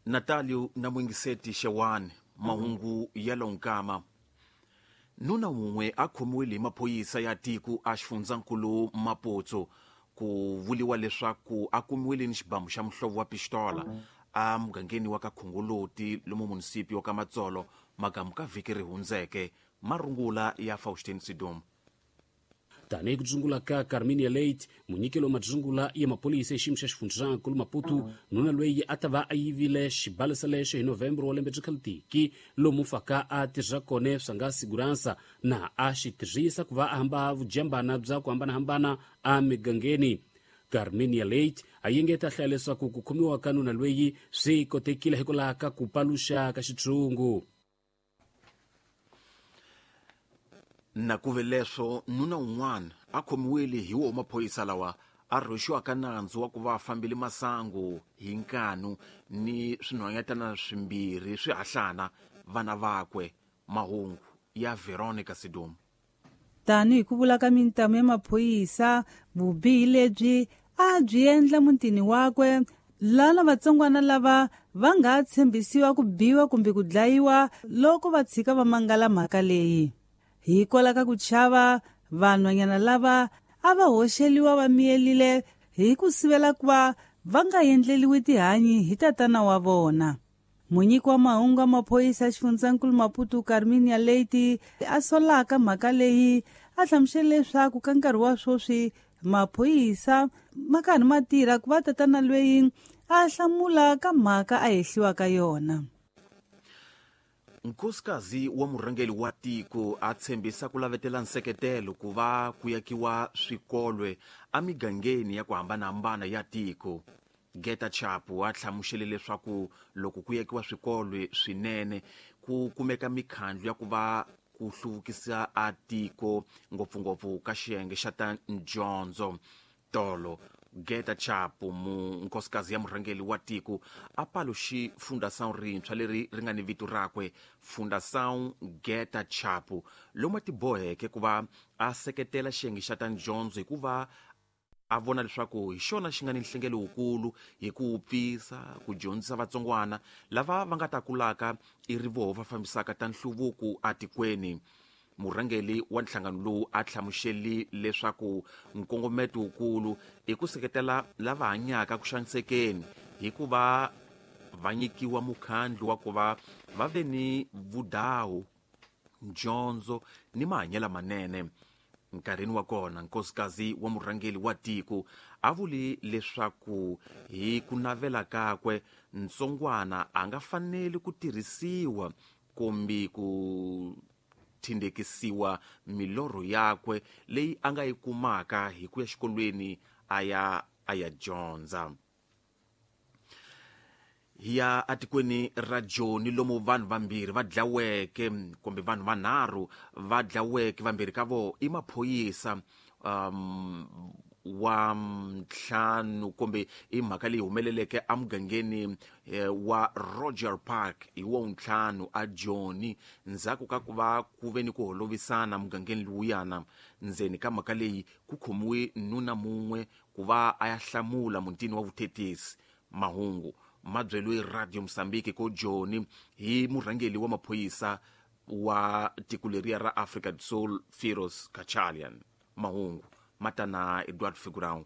Natalio na Mwingiseti Xewani, mahungu ya lonkama. Nuna wun'we a khomiwile hi maphorisa ya tiko a xifundzankulu Maputo ku vuliwa leswaku a kumiwile ni xibamu xa muhlovo wa pistola a mugangeni wa ka Khongoloti lomu munisipi wa ka Matsolo magamu ka vhiki ri hundzeke. Marungula ya Faustin Sidom. Tanihi ku dzungula ka Carminia Late, munyikelo wa madzungula ya maphorisa exiyimo xa xifundzankulu Maputo, nuna loyi a ta va a yivile xibalesa lexo hi November wa lembe byi khalutiki lomu faka a tirha kona swa nga siguransa na a xi tirhisa ku va a hamba vujambana bya ku hambanahambana emigangeni. Carminia Late a yengeta hlaya leswaku ku khomiwa ka nuna loyi swi kotekile hikwalaho ka ku paluxa ka xitshungu. Na ku ve leswo nuna un'wana a khomiwile hi wo maphorisa lawa a rhwexiwaka nandzu wa ku va a fambile masangu hi nkanu ni swinhwanyetana swimbirhi swi hahlana vana vakwe. Mahungu ya Veronica Sidom. Tanihi ku vula ka mintamu ya maphorisa, vubihi lebyi a byi endla mutini wakwe lana vatsongwana lava va nga tshembisiwa ku biwa kumbe ku dlayiwa loko va tshika va mangala mhaka leyi. Hikwalaho ka ku chava, vanhwanyana lava a va hoxeliwa va miyelile hi ku sivela ku va va nga endleliwi tihanyi hi tatana wa vona. Munyiki wa mahungu ya maphorisa ya xifundzankulu Maputo Carminia Leite a solaka mhaka leyi a hlamusele leswaku ka nkarhi wa sweswi maphorisa ma karhi ma tirha ku va tatana loyi a hlamula ka mhaka a hehliwa ka yona. Nkosikazi wa murhangeri wa tiko a tshembisa ku lavetela nseketelo ku va ku yakiwa swikolwe emigangeni ya ku hambanahambana ya tiko. Geta Chapu a hlamusele leswaku loko ku yakiwa swikolwe swinene ku kumeka mikhandlu ya ku va ku hluvukisa a tiko ngopfungopfu ka xiyenge xa ta dyondzo. Tolo Geta Chapu, nkosikazi ya murhangeri wa tiko, a paluxi Fundação rintshwa leri ri nga ni vito rakwe, Fundação Geta Chapu, lomu a tiboheke ku va a seketela xiyenge xa ta dyondzo hikuva a vona leswaku hi xona xi nga ni nhlengelo wukulu hi ku pfisa ku dyondzisa vatsongwana lava va nga ta kulaka i ri voho va fambisaka ta nhluvuko atikweni. Murhangeri wa nhlangano lowu a hlamuseli leswaku nkongometo wukulu i ku seketela lava hanyaka ku xanisekeni hikuva va nyikiwa mukhandlu wa ku va va ve ni vudawu, dyondzo ni mahanyelo manene. Nkarhini wa kona nkosikazi wa murhangeri wa tiko a vuli leswaku hi ku navela kakwe ntsongwana a nga faneli ku tirhisiwa kumbe ku tindekisiwa milorho yakwe leyi a nga yi kumaka hi ku ya xikolweni a ya dyondza. Hi ya atikweni ra Joni lomu vanhu vambirhi va dlaweke kumbe vanhu vanharhu va dlaweke, vambirhi ka vo i maphorisa wa ntlhanu kumbe i mhaka leyi humeleleke emugangeni wa Roger Park hi wa ntlhanu a Joni ndzhaku ka ku va ku ve ni ku holovisana mugangeni lowuyana. Ndzeni ka mhaka leyi ku khomiwe nuna mun'we ku va a ya hlamula mutini wa vuthetisi. Mahungu ma byeriwe Radio Mozambique ko Joni hi murhangeri wa maphorisa wa tiko leriya ra Afrika do Sul, Firoz Kachalian. Mahungu matana Edward Figurão.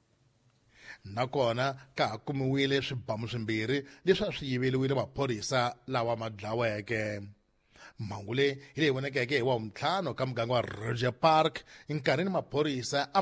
Nakona ka ha kumiwile swibamu swimbirhi leswi a swi yiveriwile maphorisa lawa ma dlaweke. Mhangu leyi hi leyi vonekeke hi wa ntlhanu ka muganga wa Roger Park nkarhini maphorisa a